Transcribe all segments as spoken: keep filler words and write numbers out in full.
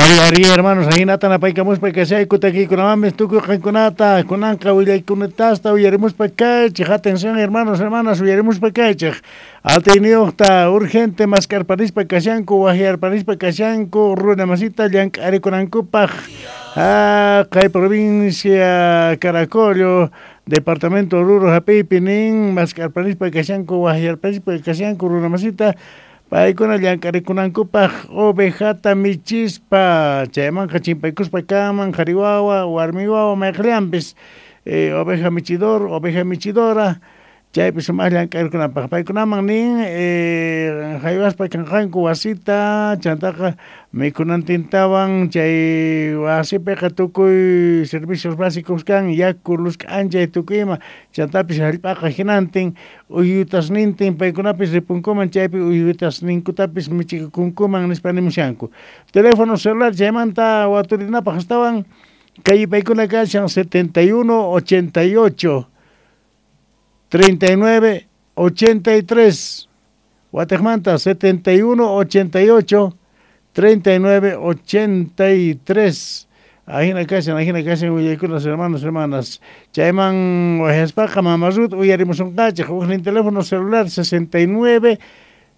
Ari, ari, hermanos, ahinata napaykamuspa kashayku takiykunamanpis tukuy qankunata kunanqa willaykunatasta uyarimuspa kaychik. Atención, hermanos, hermanas, uyarimuspa kaychik. Atiyniyuqta urgente maskarparispa kashanku, wajyarparispa kashanku, runa masita llank'arikunankupaq. Ah, kay provincia Caracollo, departamento Oruro hap'iypi nin maskarparispa kashanku, wajyarparispa kashanku runa masita paykuna llank'arikunankupaq ovejata michispa chaymanqa chimpaykuspa kanman qhari wawa, warmi wawa mayqillanpis eh, oveja michidor, oveja michidora chaypi sumaq llank'arikunapaq paykunaman nin eh, haywaspa kanqanku wasita chantaqa mikhunantintawan chay wasipiqa tukuy servicios básicos kan yaku, luz k'anchay tukuy ima chantapis hallp'aqa hinantin uyutasnintin paykunapis ripunkuman chaypi uyutasninkutapis michikunkuman nispa nimushanku. Teléfono celular chaymanta waturinapaq astawan kay paykuna kashan setenta y uno ochenta y ocho treinta y nueve ochenta y tres Wategmanta setenta y uno ochenta y ocho treinta y nueve ochenta y tres. Ajina kashan, ajina kashan willaykunas hermanos, hermanas. Chayman wajaspaqa Mama Ruth uyarimusunqachik huknin teléfono celular sesenta y nueve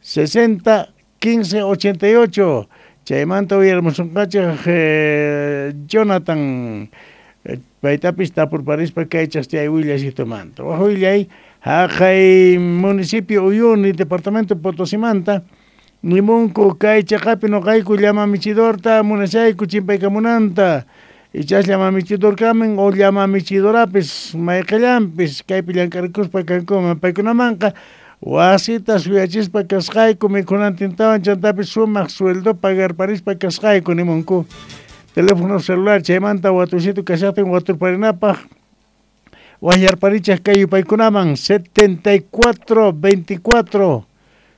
sesenta quince ochenta y ocho. Chaymanta uyarimusunqachik eh, Jonathan eh, paytapis tapurparispa kaychas chay willasitumanta. Waj willay haqay municipio Uyuni, departamento Potosimanta, nimunku kay chaqapi noqayku llama michidorta munashayku chimpaykamunanta. Ichas llama michidor kamen o llama michidorapis mayqillanpis kaypi llank'arikuspa kankuman paykunamanqa wasita suyachispa kasqayku mikhunantintawan chantapis sumaq sueldo pagarparispa kasqayku nimunku. Teléfono celular chaymanta watusitu kashaqtin waturparinapaq wajyarparichaq kay yupaykunaman setenta y cuatro veinticuatro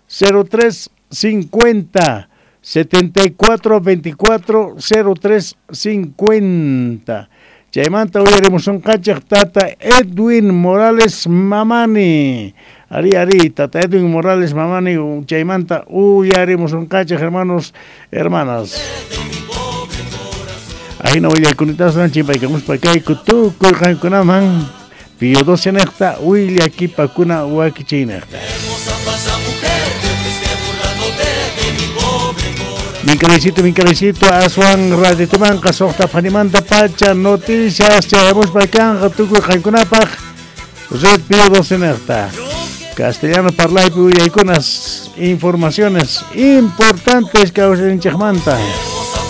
cero tres cincuenta setenta y cuatro veinticuatro cero tres cincuenta. Chaymanta uyarimusunqachik tata Edwin Morales Mamani. Ari, ari, tata Edwin Morales Mamani chaymanta uyarimusunqachik hermanos, hermanas. Ahina willaykunitasan chimpaykamuspa kayku tukuy qankunaman Pío doce nejta willakipakuna wakichiynejta. Minkalecito, minkalecito, aswan raditumanqa suqta phanimanta pacha noticias chayamuspa kanqa tukuy qankunapaq Red Pío doce nejta. Castellano parlaypi willaykunas informaciones importantes kawsayninchikmanta.